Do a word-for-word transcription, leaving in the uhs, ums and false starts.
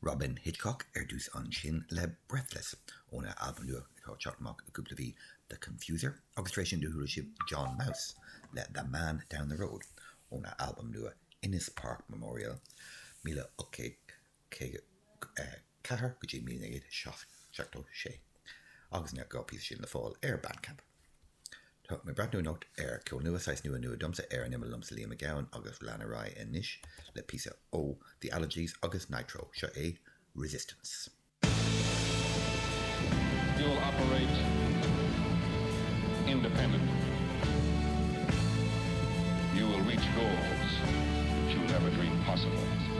Robyn Hitchcock ar dtús ansin le Breathless óna albam nua atá ag teacht amach i gcúpla mhí The Confuser agus tar éis sin do chuala sibh John Maus le The Man Down the Road óna albam nua Innes Park Memorial míle ocht gcéad ceathair go dtí míle naoi gcéad seachtó sé agus na dhá phíosa sin le fáil ar Bandcamp. Tá mé ag breathnú anocht ar ceol nua saghas nua nua domsa ar an imeall liomsa Liam Mac Gabhann agus lean ar aghaidh anois le píosa ó The Allergies agus Nitro seo é Resistance. You'll operate independently. You will reach goals that you never dreamed possible.